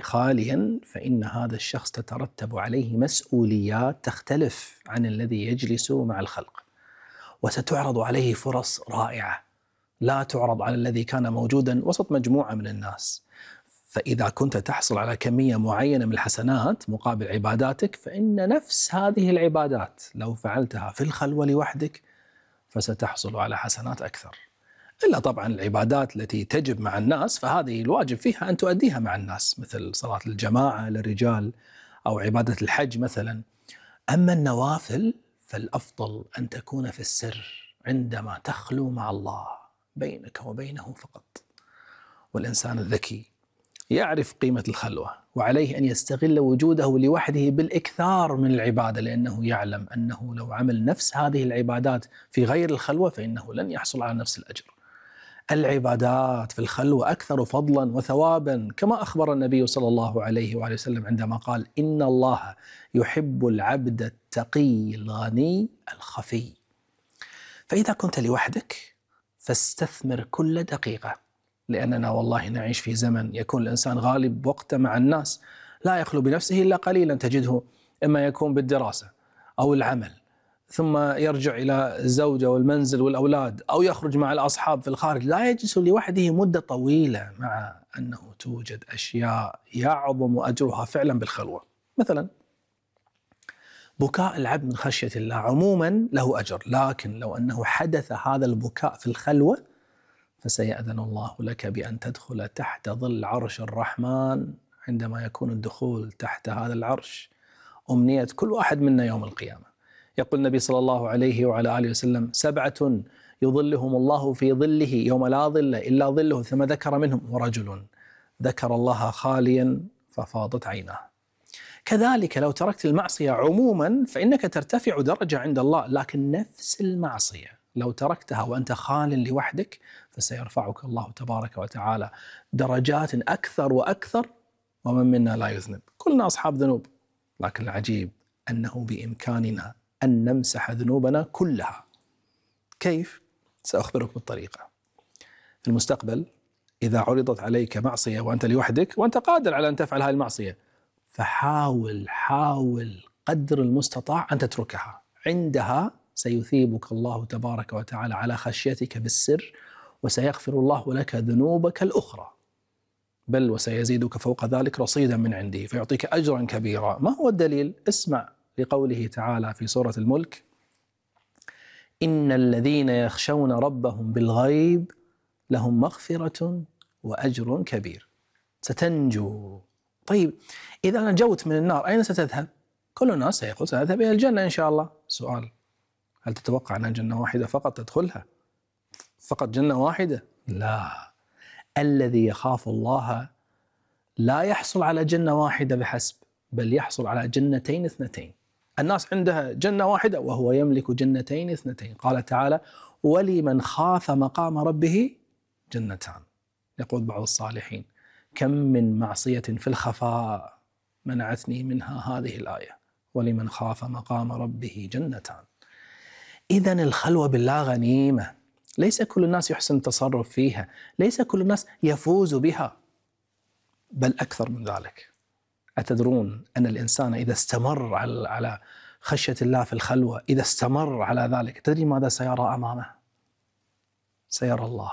خاليا فإن هذا الشخص تترتب عليه مسؤوليات تختلف عن الذي يجلس مع الخلق، وستعرض عليه فرص رائعة لا تعرض على الذي كان موجودا وسط مجموعة من الناس. فإذا كنت تحصل على كمية معينة من الحسنات مقابل عباداتك، فإن نفس هذه العبادات لو فعلتها في الخلوة لوحدك فستحصل على حسنات أكثر. إلا طبعا العبادات التي تجب مع الناس فهذه الواجب فيها أن تؤديها مع الناس، مثل صلاة الجماعة للرجال أو عبادة الحج مثلا. أما النوافل فالأفضل أن تكون في السر عندما تخلو مع الله بينك وبينه فقط. والإنسان الذكي يعرف قيمة الخلوة، وعليه أن يستغل وجوده لوحده بالإكثار من العبادة، لأنه يعلم أنه لو عمل نفس هذه العبادات في غير الخلوة فإنه لن يحصل على نفس الأجر. العبادات في الخلوة أكثر فضلا وثوابا، كما أخبر النبي صلى الله عليه وآله وسلم عندما قال: إن الله يحب العبد التقي الغني الخفي. فإذا كنت لوحدك فاستثمر كل دقيقة، لأننا والله نعيش في زمن يكون الإنسان غالب وقته مع الناس، لا يخلو بنفسه إلا قليلا، تجده إما يكون بالدراسة أو العمل، ثم يرجع إلى الزوجة والمنزل والأولاد، أو يخرج مع الأصحاب في الخارج، لا يجلس لوحده مدة طويلة، مع أنه توجد أشياء يعظم أجرها فعلا بالخلوة. مثلا بكاء العبد من خشية الله عموما له أجر، لكن لو أنه حدث هذا البكاء في الخلوة فسيأذن الله لك بأن تدخل تحت ظل عرش الرحمن، عندما يكون الدخول تحت هذا العرش أمنية كل واحد منا يوم القيامة. يقول النبي صلى الله عليه وعلى آله وسلم: 7 يظلهم الله في ظله يوم لا ظل إلا ظله، ثم ذكر منهم: ورجل ذكر الله خاليا ففاضت عيناه. كذلك لو تركت المعصية عموما فإنك ترتفع درجة عند الله، لكن نفس المعصية لو تركتها وأنت خال لوحدك فسيرفعك الله تبارك وتعالى درجات أكثر وأكثر، ومن منا لا يذنب، كلنا أصحاب ذنوب، لكن العجيب أنه بإمكاننا أن نمسح ذنوبنا كلها. كيف؟ سأخبرك بالطريقة. في المستقبل إذا عرضت عليك معصية وأنت لوحدك وأنت قادر على أن تفعل هذه المعصية، فحاول قدر المستطاع أن تتركها. عندها سيثيبك الله تبارك وتعالى على خشيتك بالسر، وسيغفر الله لك ذنوبك الأخرى، بل وسيزيدك فوق ذلك رصيدا من عنده فيعطيك أجرا كبيرا. ما هو الدليل؟ اسمع لقوله تعالى في سورة الملك: إن الذين يخشون ربهم بالغيب لهم مغفرة وأجر كبير. ستنجو. طيب إذا نجوت من النار أين ستذهب؟ كل الناس سيقول سأذهب إلى الجنة إن شاء الله. سؤال: هل تتوقع أن جنة واحدة فقط تدخلها؟ فقط جنة واحدة؟ لا. الذي يخاف الله لا يحصل على جنة واحدة بحسب، بل يحصل على جنتين 2. الناس عندها جنة واحدة وهو يملك جنتين 2. قال تعالى: ولمن خاف مقام ربه جنتان. يقول بعض الصالحين: كم من معصية في الخفاء منعتني منها هذه الآية، ولمن خاف مقام ربه جنتان. إذن الخلوة بالله غنيمة، ليس كل الناس يحسن التصرف فيها، ليس كل الناس يفوز بها، بل أكثر من ذلك. أتدرون أن الإنسان إذا استمر على خشية الله في الخلوة، إذا استمر على ذلك، تدري ماذا سيرى أمامه؟ سيرى الله.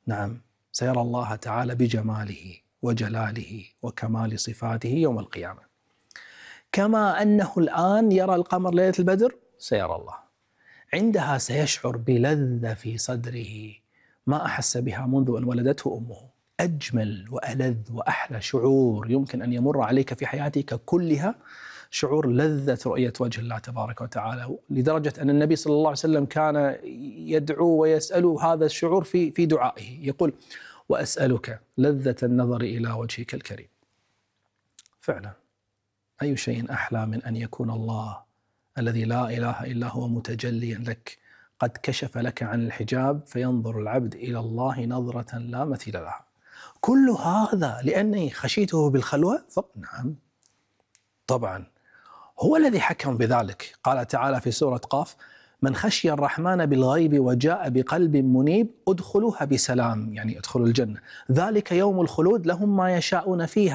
نعم، سيرى الله تعالى بجماله وجلاله وكمال صفاته يوم القيامة. كما أنه الآن يرى القمر ليلة البدر، سيرى الله. عندها سيشعر بلذة في صدره ما أحس بها منذ أن ولدته أمه. أجمل وألذ وأحلى شعور يمكن أن يمر عليك في حياتك كلها شعور لذة رؤية وجه الله تبارك وتعالى، لدرجة أن النبي صلى الله عليه وسلم كان يدعو ويسأل هذا الشعور في دعائه، يقول: وأسألك لذة النظر إلى وجهك الكريم. فعلا أي شيء أحلى من أن يكون الله الذي لا إله إلا هو متجليا لك، قد كشف لك عن الحجاب فينظر العبد إلى الله نظرة لا مثيل لها. كل هذا لأني خشيته بالخلوة؟ نعم طبعا، هو الذي حكم بذلك. قال تعالى في سورة قاف: من خشي الرحمن بالغيب وجاء بقلب منيب ادخلوها بسلام، يعني ادخلوا الجنة، ذلك يوم الخلود لهم ما يشاءون فيها